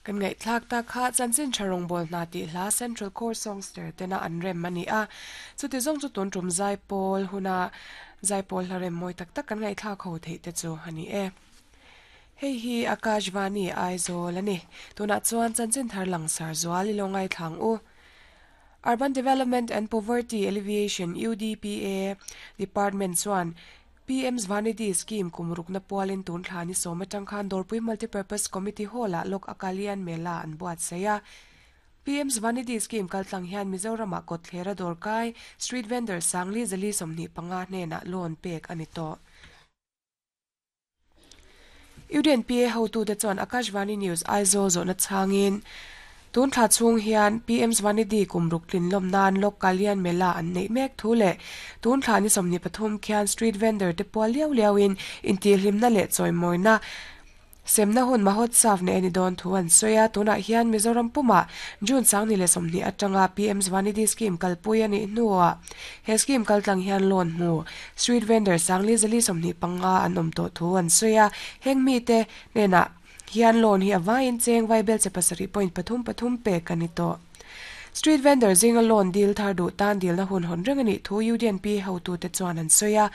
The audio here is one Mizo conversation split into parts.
Kan ngaihthlak tak kha chanchin tha rawngbâwl hna tih hla Central Core Songster tena an rem a ni a. Chuti zawng chu tun tum zaipawl huna zaipawl hla rem mawi tak tak kan ngaihthlak ho theih te chu a ni e. Hei hi Akashvani Aizawl a ni. Tunah chuan chanchin thar langsar zual i lo ngaithlang u. Urban Development and Poverty Alleviation, UDPA, Department chuan PM Svanidhi Scheme kum rukna pualin tun thla ni sawm atang khan Dawrpui Multipurpose Committee Hall-ah Lok Akalian Mela an buatsaih a. PM Svanidhi Scheme kaltlang hian Mizoramah kawtthlera dawrkai, street vendor, sangli zali 25 hnenah loan pek a ni tawh. UDNPA hotute chuan Akashvani News Aizawl zawhna chhangin, Tun thla chhung hian PM Svanidhi kum ruk tlin lawm nan Lok Kalyan Mela an neih mek thu leh tun thla ni 23 khian street vendor te pual liau liauin intihhlimna leh chawimawina Semna hun Mahotsav nei a ni dawn thu an sawi a, tunah hian Mizoram pumah June 2020 atanga PM Svanidhi Scheme kalpui a nih hnuah he scheme kaltlang hian loan hmu street vendor 4425 an awm tawh thu an sawi a, heng mite hnenah hian loan hi a vaiin cheng vaibel che pasarih point pathum pathum pek a ni tawh. Street vendor zinga loan dil thar duh tan dilna hun hawn reng a nih thu UDNP hotute chuan an sawi a.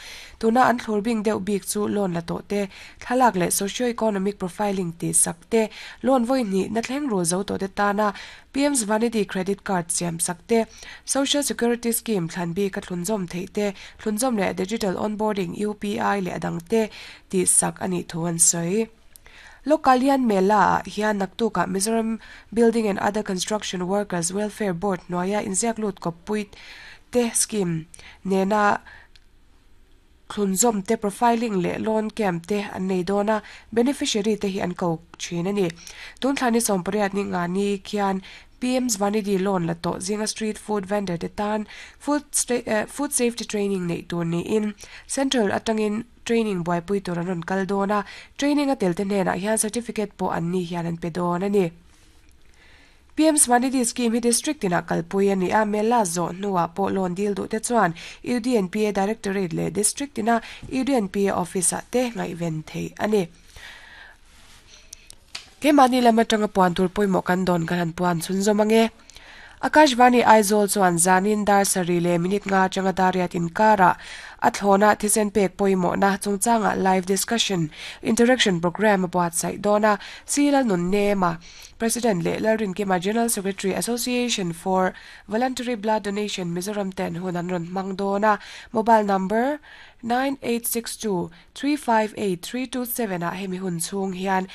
Tuna an thlur bing deuh bik chu loan la tawh te, thlalak leh socio-economic profiling tih sak te, loan vawi hnih na thleng rul zo tawh te tana PM Svanidhi credit card siam sak te, Social Security Scheme thlan bik a thlunzawm theih te, thlunzawm leh digital onboarding, UPI leh a dang te tih sak a nih thu an sawi. Lokalian Mela-ah hian naktukah Mizoram Building and Other Construction Workers Welfare Board hnuaia inziak lut kawppui te scheme nena thlunzawm te profiling leh loan camp te an nei dawn a, beneficiary te hi an ko thin a ni. Tun thla ni 18 ni nga ni khian PM Svanidhi loan la tawh zinga street food vendor te tan food food safety training neih tur niin Central atangin Training buaipui tur an rawn kal dawn a, training a telte hnenah hian certificate pawh an ni hian an pe dawn a ni. PM Svanidhi Scheme hi District tinah kalpui a ni a, Mela zawh hnuah pawh loan dil duhte chuan UDNPA Directorate leh District tina UDNPA Office-ah te ngaihven theih a ni. Keimahni lam atanga puan tur pawimawh kan dawn kan han puan chhunzawm ange. Akashvani Aizawl chuan zanin dar sarih leh minute nga atanga dar riat inkarah a thlawna thisen pek pawimawhna chungchangah live discussion interaction programme a buatsaih dawn a, C Lalnunnema, President leh Lalrinkima General Secretary Association for Voluntary Blood Donation Mizoram ten hun an rawn hmang dawn a, mobile number, 9862 358 327 ah hemi hun chhung hian.